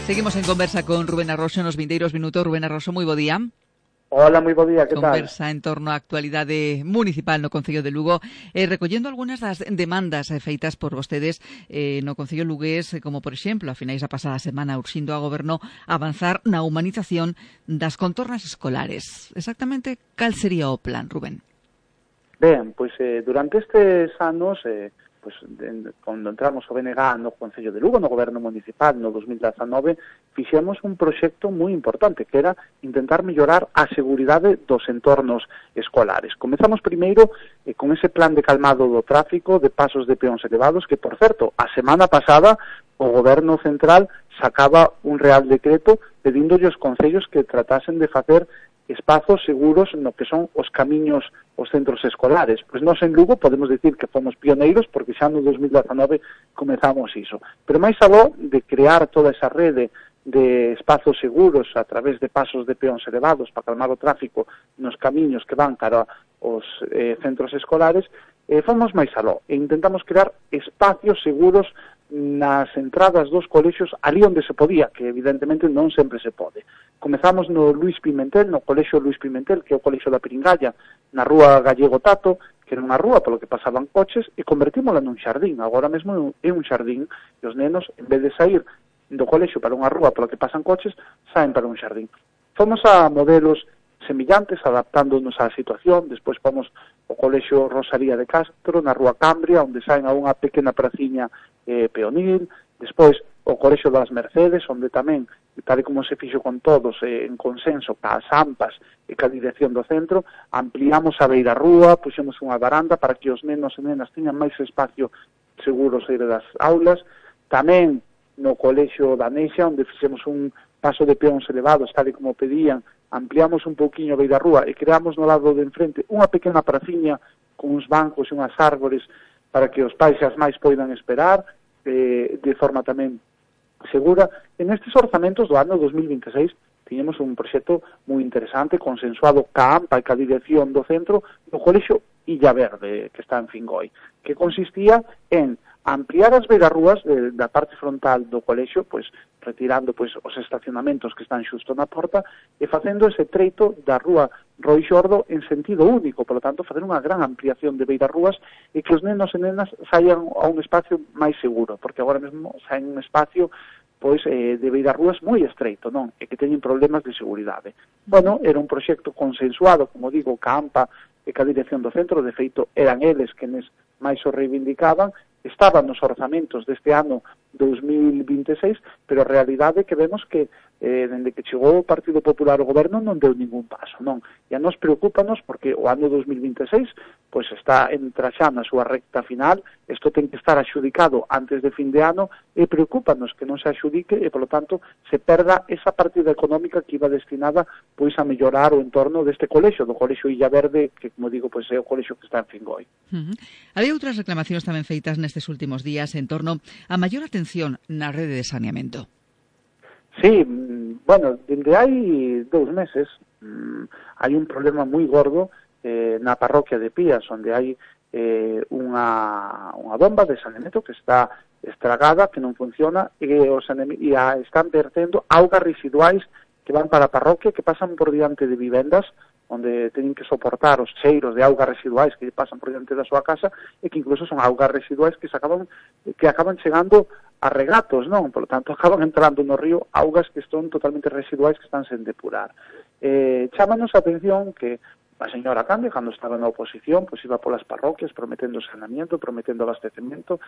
Seguimos en conversa con Rubén Arroxo nos vindeiros minutos. Rubén Arroxo, moi bo día. Hola, moi bo día, que tal? Conversa en torno á actualidade municipal no Concello de Lugo, recollendo algunhas das demandas feitas por vostedes no Concello lugués, como por exemplo, a finais da pasada semana, urxindo ao Goberno avanzar na humanización das contornas escolares. Exactamente, cal sería o plan, Rubén? Ben, pois durante estes anos, cando entramos o BNG no Concello de Lugo, no Goberno Municipal, no 2019, fixemos un proxecto moi importante, que era intentar mellorar a seguridade dos entornos escolares. Comezamos primeiro con ese plan de calmado do tráfico, de pasos de peóns elevados, que, por certo, a semana pasada o Goberno Central sacaba un real decreto pedíndolle aos concellos que tratasen de facer espazos seguros no que son os camiños, os centros escolares. Pois nós en Lugo podemos dicir que fomos pioneiros porque xa no 2019 comezamos iso. Pero máis aló de crear toda esa rede de espazos seguros a través de pasos de peóns elevados para calmar o tráfico nos camiños que van cara aos centros escolares, fomos máis aló e intentamos crear espacios seguros nas entradas dos colexios ali onde se podía, que evidentemente non sempre se pode. Comezamos no Luís Pimentel, no colexio Luís Pimentel, que é o colexio da Piringalla, na rúa Gallego Tato, que era unha rúa polo que pasaban coches, e convertímola nun xardín. Agora mesmo é un xardín, e os nenos, en vez de sair do colexio para unha rúa polo que pasan coches, saen para un xardín. Fomos a modelos semillantes, adaptándonos á situación. Despois fomos ao colexio Rosalía de Castro, na rúa Cambria, onde saen a unha pequena praciña peonil. Despois o colexio das Mercedes, onde tamén, tal e como se fixo con todos, en consenso, cas AMPAs e ca dirección do centro, ampliamos a beira rúa, puxemos unha varanda para que os nenos e nenas teñan máis espacio seguro sair das aulas. Tamén no colexio da Nexa, onde fixemos un paso de peóns elevados, tal e como pedían, ampliamos un pouquiño a beira rúa e creamos no lado de enfrente unha pequena praciña con uns bancos e unhas árbores para que os pais e as máis poidan esperar de forma tamén segura. En estes orzamentos do ano 2026 tiñemos un proxecto moi interesante, consensuado ca AMPA e ca dirección do centro do colexio Illa Verde, que está en Fingoi, que consistía en ampliar as beirarrúas da parte frontal do colexio, pois retirando pois os estacionamentos que están xusto na porta e facendo ese treito da rúa Roi Xordo en sentido único, por lo tanto, facer unha gran ampliación de beirarrúas e que os nenos e nenas saian a un espacio máis seguro, porque agora mesmo saen un espacio pois de beirarrúas moi estreito, non? E que teñen problemas de seguridade. Bueno, era un proxecto consensuado, como digo, ca AMPA e ca dirección do centro, de feito, eran eles quenes máis o reivindicaban, estaban nos orzamentos deste ano 2026, pero a realidade é que vemos que dende que chegou o Partido Popular ao goberno non deu ningún paso, non? E a nos preocúpanos porque o ano 2026 pois está entra xa na súa recta final, isto ten que estar axudicado antes de fin de ano e preocúpanos que non se axudique e, polo tanto, se perda esa partida económica que iba destinada pois a mellorar o entorno deste colexio, do colexio Illa Verde, que, como digo, pois é o colexio que está en Fingoi. Había outras reclamacións tamén feitas nestes últimos días en torno a maior atención na rede de saneamento. Sí, bueno, dende hai 2 meses hai un problema moi gordo na parroquia de Pías, onde hai unha bomba de saneamento que está estragada, que non funciona, e están vertendo augas residuais que van para a parroquia, que pasan por diante de vivendas, onde teñen que soportar os cheiros de augas residuais que pasan por diante da súa casa e que incluso son augas residuais que acaban chegando a regatos, non? Por lo tanto, acaban entrando no río augas que son totalmente residuais que están sen depurar. Chámanos a atención que a señora Cande, cando estaba na oposición, pois iba polas parroquias prometendo saneamento, prometendo abastecemento,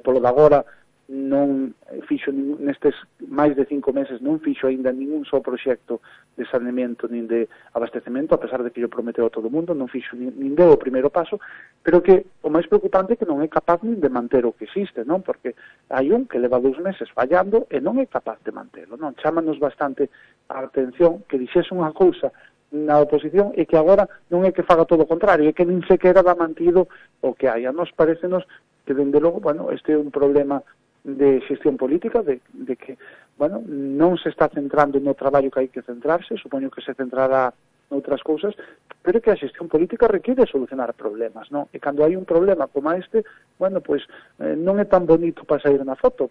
polo de agora non fixo nestes máis de 5 meses non fixo aínda ningún só proxecto de saneamento nin de abastecemento, a pesar de que yo prometeu a todo o mundo, non fixo nin deu o primeiro paso, pero que o máis preocupante é que non é capaz nin de manter o que existe, non? Porque hai un que leva 2 meses fallando e non é capaz de mantelo, non? Chámanos bastante a atención que dixese unha cousa na oposición e que agora non é que faga todo o contrario, é que nin sequera dá mantido o que hai. A nos parecenos que, dende logo, bueno, este é un problema de xestión política, de que, bueno, non se está centrando no traballo que hai que centrarse, supoño que se centrará noutras cousas, pero que a xestión política requiere solucionar problemas, non? E cando hai un problema como este, bueno, pois non é tan bonito para sair na foto,